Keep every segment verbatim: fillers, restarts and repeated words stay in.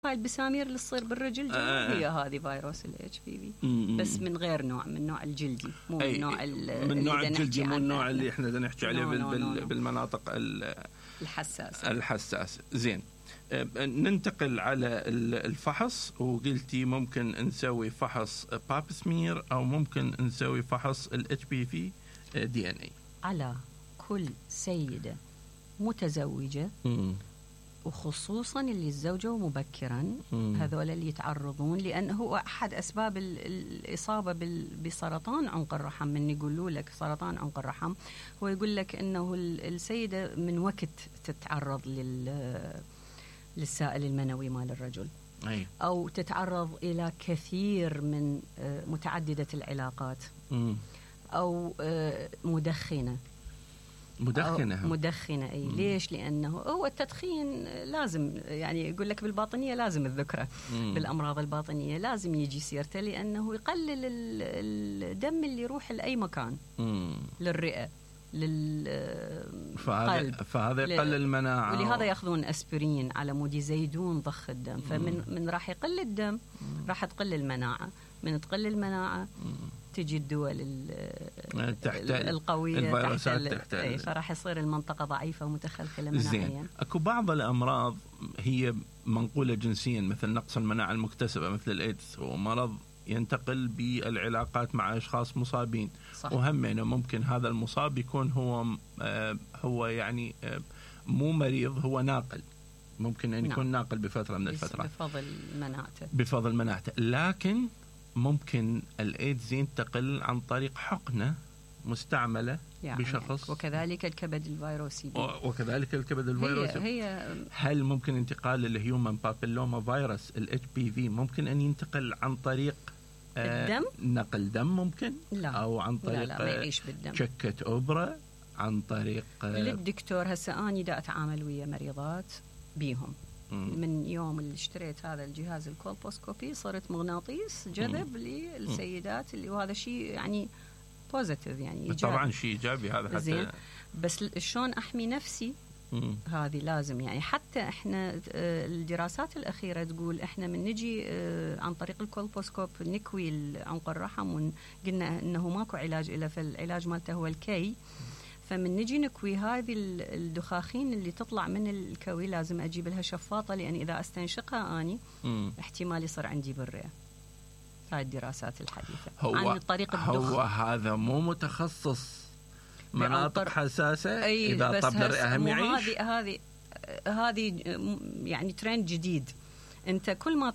هاي البسامير اللي تصير بالرجل آه. هي هذه فيروس الاتش بي في بس من غير نوع، من نوع الجلدي، مو من نوع من نوع الجلدي، مو النوع اللي احنا بدنا نحكي عليه بال بال بالمناطق الحساسه الحساسه. زين، ننتقل على الفحص. وقلتي ممكن نسوي فحص باب سمير او ممكن نسوي فحص الاتش بي في دي ان اي على كل سيده متزوجه م. وخصوصا اللي تزوجوا مبكرا، هذول اللي يتعرضون، لأنه هو أحد أسباب الإصابة بسرطان عنق الرحم. من يقولوا لك سرطان عنق الرحم هو يقول لك أنه السيدة من وقت تتعرض للسائل المنوي مال الرجل أي. أو تتعرض إلى كثير من متعددة العلاقات م. أو مدخنة مدخنة مدخنة أي. ليش؟ لأنه هو التدخين لازم، يعني يقول لك بالباطنية لازم الذكرى بالأمراض الباطنية لازم يجي سيرته، لأنه يقلل الدم اللي يروح لأي مكان مم. للرئة للقلب، فهذا يقلل المناعة، ولهذا يأخذون أسبرين على مود يزيدون ضخ الدم. فمن من راح يقل الدم راح تقل المناعة، من تقل المناعة تجي الدول القوية تحت, تحت ال... فراح يصير المنطقة ضعيفة ومتخلخلة مناعيا. أكو بعض الأمراض هي منقولة جنسيا مثل نقص المناعة المكتسبة مثل الإيدز، ومرض ينتقل بالعلاقات مع أشخاص مصابين. صح. وهم يعني ممكن هذا المصاب يكون هو آه هو يعني آه مو مريض، هو ناقل، ممكن أن يكون نعم. ناقل بفترة من الفترات بفضل مناعته بفضل مناعته لكن ممكن الإيدز ينتقل عن طريق حقنة مستعملة يعني بشخص، وكذلك الكبد الفيروسي وكذلك الكبد الفيروسي هي هي هل ممكن انتقال الهيومن بابيلوما فيروس الاتش بي في ممكن أن ينتقل عن طريق الدم؟ آه نقل دم ممكن؟ لا. أو عن طريق لا لا ما يعيش بالدم. شكة أوبرا عن طريق آه للدكتور. هسه أنا دا أتعامل ويا مريضات بيهم من يوم اللي اشتريت هذا الجهاز الكولبوسكوبي صرت مغناطيس جذب للسيدات اللي، وهذا شيء يعني بوزيتيف يعني إيجابي. طبعا شيء إيجابي هذا حتى زين. بس شلون أحمي نفسي هذه لازم يعني. حتى احنا الدراسات الأخيرة تقول احنا من نجي عن طريق الكولبوسكوب نكوي عنق الرحم، وقلنا انه ماكو علاج له، فالعلاج مالته هو الكي. فمن نجي نكوي هذه الدخاخين اللي تطلع من الكوي لازم أجيب لها شفاطة، لأن إذا أستنشقها أني م. احتمال يصير عندي بالرئة. هاي الدراسات الحديثة هو عن طريق الدخ. هو هذا مو متخصص مناطق حساسة أي إذا طب الرئة هم يعيش. هذه هذه هذه يعني ترند جديد. أنت كل ما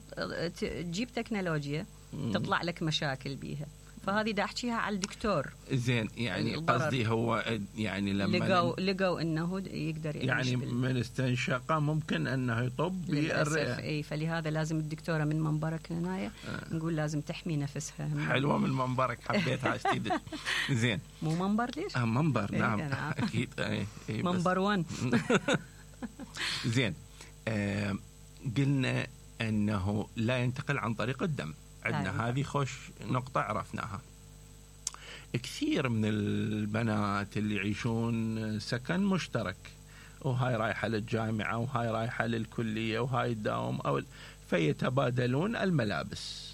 تجيب تكنولوجيا م. تطلع لك مشاكل بيها، فهذه دا أحكيها على الدكتور. زين يعني قصدي هو يعني لما لقوا لقوا انه يقدر يعيش يعني من استنشاقه ممكن انه يطب بالرئه. اي فلهذا لازم الدكتوره من منبرك هنا آه. نقول لازم تحمي نفسها. حلوه من منبرك، حبيتها جديد. زين مو منبر ليش؟ آه منبر إيه نعم اكيد اي إيه منبر واحد. زين آه قلنا انه لا ينتقل عن طريق الدم، عندنا هذه خوش نقطة عرفناها. كثير من البنات اللي يعيشون سكن مشترك، وهاي رايحة للجامعة وهاي رايحة للكلية وهاي الدوام أو فيتبادلون الملابس.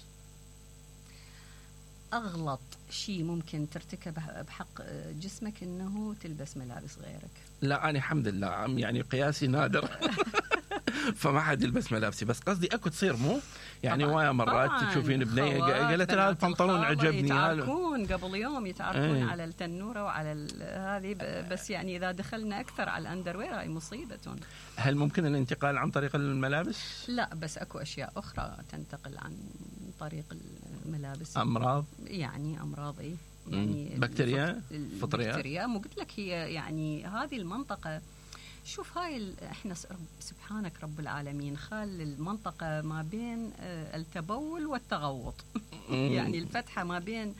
أغلط شيء ممكن ترتكب بحق جسمك إنه تلبس ملابس غيرك. لا أنا الحمد لله يعني قياسي نادر فما حد يلبس ملابسي، بس قصدي اكو تصير مو يعني ويا مرات تشوفين بنيه قالت لها البنطلون عجبني، يتعاركون قبل يوم يتعاركون ايه. على التنوره وعلى هذه، بس يعني اذا دخلنا اكثر على الاندروير هاي مصيبه. هل ممكن الانتقال عن طريق الملابس؟ لا بس اكو اشياء اخرى تنتقل عن طريق الملابس. امراض يعني امراض ايه يعني بكتيريا فطريات. بكتيريا مو قلت لك هي يعني هذه المنطقه. شوف هاي احنا سبحانك رب العالمين خال المنطقة ما بين التبول والتغوط. يعني الفتحة ما بين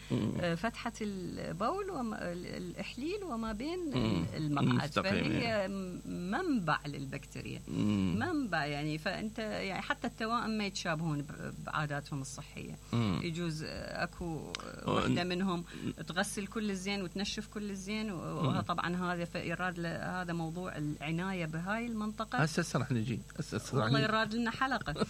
فتحة البول والإحليل وما بين المقعد، فهي منبع للبكتيريا، منبع يعني. فأنت يعني حتى التوائم ما يتشابهون بعاداتهم الصحية. يجوز أكو واحدة منهم تغسل كل الزين وتنشف كل الزين، وطبعا هذا فإيراد هذا موضوع العناية العناية بهاي المنطقة. هسه راح نجي هسه والله يراد لنا حلقة